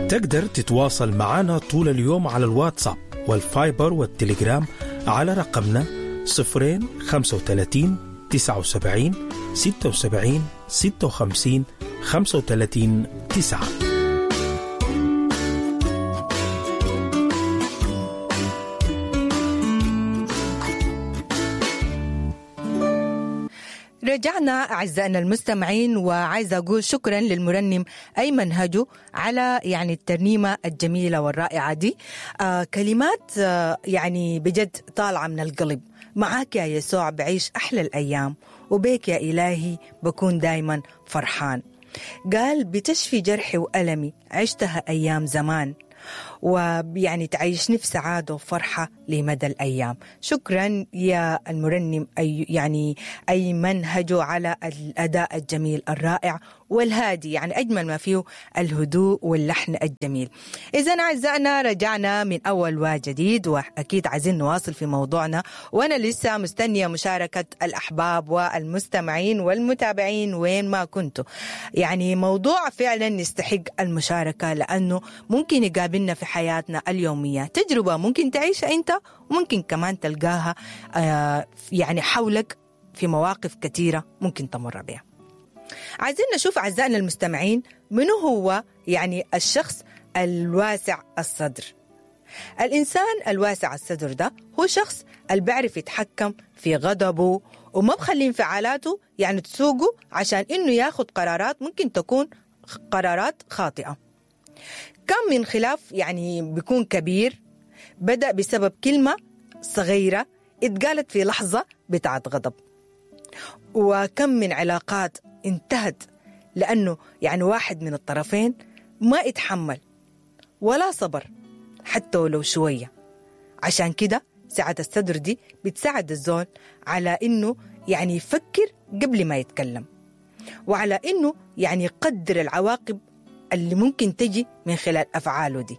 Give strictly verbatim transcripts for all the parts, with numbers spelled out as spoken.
تقدر تتواصل معنا طول اليوم على الواتساب والفايبر والتليجرام على رقمنا صفرين خمسة وثلاثين تسعة وسبعين ستة وسبعين ستة وخمسين خمسة وثلاثين تسعة. رجعنا أعزائنا المستمعين، وعايزة أقول شكرا للمرنم أيمن هجو على يعني الترنيمة الجميلة والرائعة دي. آه كلمات آه يعني بجد طالعة من القلب. معاك يا يسوع بعيش أحلى الأيام، وبيك يا إلهي بكون دايما فرحان. قال بتشفي جرحي وألمي عشتها أيام زمان، ويعني تعيشني في سعادة وفرحة لمدى الأيام. شكرا يا المرنم أي يعني أيمن هجو على الأداء الجميل الرائع والهادي، يعني أجمل ما فيه الهدوء واللحن الجميل. إذا أعزائنا رجعنا من أول وجديد، وأكيد عايزين نواصل في موضوعنا، وأنا لسه مستنية مشاركة الأحباب والمستمعين والمتابعين وين ما كنتوا. يعني موضوع فعلا يستحق المشاركة، لأنه ممكن يقابلنا في حياتنا اليومية، تجربة ممكن تعيشها أنت، وممكن كمان تلقاها يعني حولك في مواقف كثيرة ممكن تمر بها. عايزين نشوف أعزائنا المستمعين منو هو يعني الشخص الواسع الصدر. الإنسان الواسع الصدر ده هو شخص اللي بيعرف يتحكم في غضبه وما بخلي انفعالاته يعني تسوقه عشان إنه ياخد قرارات ممكن تكون قرارات خاطئة. كم من خلاف يعني بيكون كبير بدأ بسبب كلمة صغيرة اتقالت في لحظة بتاعت غضب، وكم من علاقات انتهت لأنه يعني واحد من الطرفين ما اتحمل ولا صبر حتى ولو شوية. عشان كده سعة الصدر دي بتساعد الزول على إنه يعني يفكر قبل ما يتكلم، وعلى إنه يعني يقدر العواقب اللي ممكن تجي من خلال أفعاله دي.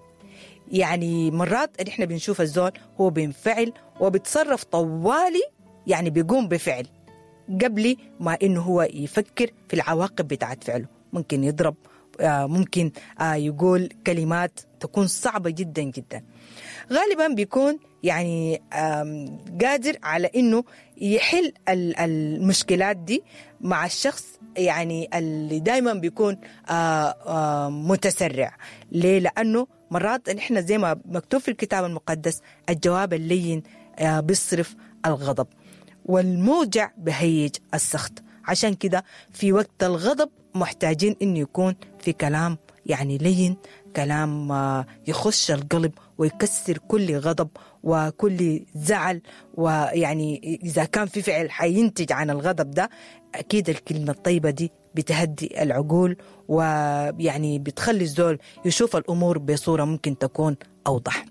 يعني مرات إحنا بنشوف الزول هو بينفعل وبيتصرف طوالي، يعني بيقوم بفعل قبل ما إنه هو يفكر في العواقب بتاعت فعله. ممكن يضرب، ممكن يقول كلمات تكون صعبة جدا جدا. غالبا بيكون يعني قادر على إنه يحل المشكلات دي مع الشخص يعني اللي دايما بيكون متسرع. ليه؟ لأنه مرات نحن زي ما مكتوب في الكتاب المقدس الجواب اللين بيصرف الغضب والموجع بهيج السخط. عشان كده في وقت الغضب محتاجين إنه يكون في كلام يعني لين، كلام يخش القلب ويكسر كل غضب وكل زعل. ويعني إذا كان في فعل حينتج عن الغضب ده، أكيد الكلمة الطيبة دي بتهدي العقول، ويعني بتخلي الزول يشوف الأمور بصورة ممكن تكون أوضح.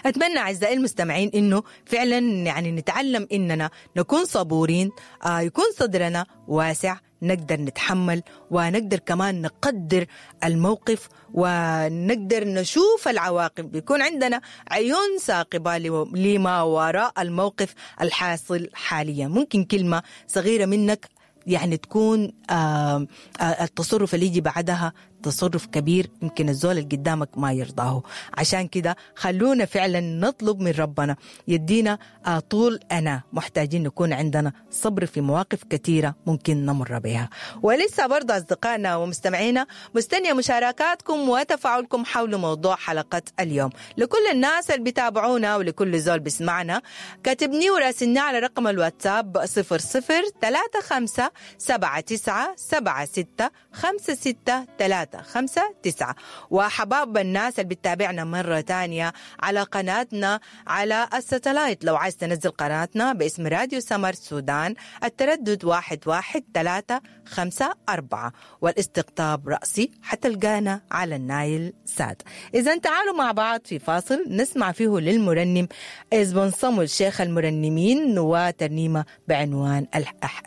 أتمنى أعزائي المستمعين إنه فعلا يعني نتعلم إننا نكون صبورين، آه يكون صدرنا واسع، نقدر نتحمل ونقدر كمان نقدر الموقف ونقدر نشوف العواقب، بيكون عندنا عيون ثاقبة لما وراء الموقف الحاصل حاليا. ممكن كلمة صغيرة منك يعني تكون آه آه التصرف اللي يجي بعدها تصرف كبير يمكن الزول اللي قدامك ما يرضاه. عشان كده خلونا فعلا نطلب من ربنا يدينا آه طول أنا محتاجين نكون عندنا صبر في مواقف كثيرة ممكن نمر بها. ولسه برضه أصدقائنا ومستمعينا مستنية مشاركاتكم وتفاعلكم حول موضوع حلقة اليوم. لكل الناس اللي بيتابعونا ولكل زول بيسمعنا، كاتبني وراسلنا على رقم الواتساب صفر صفر ثلاثة خمسة سبعة تسعة سبعة ستة خمسة ستة ثلاثة خمسة تسعة. وحباب الناس اللي بتتابعنا مرة تانية على قناتنا على الستلايت، لو عايز تنزل قناتنا باسم راديو سمر السودان، التردد واحد واحد ثلاثة خمسة أربعة، والاستقطاب رأسي حتلقانا على النايل سات. إذا تعالوا مع بعض في فاصل نسمع فيه للمرنم إزبون صمول شيخ المرنمين وترنيمة بعنوان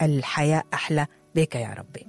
الحياة أحلى بك يا ربي.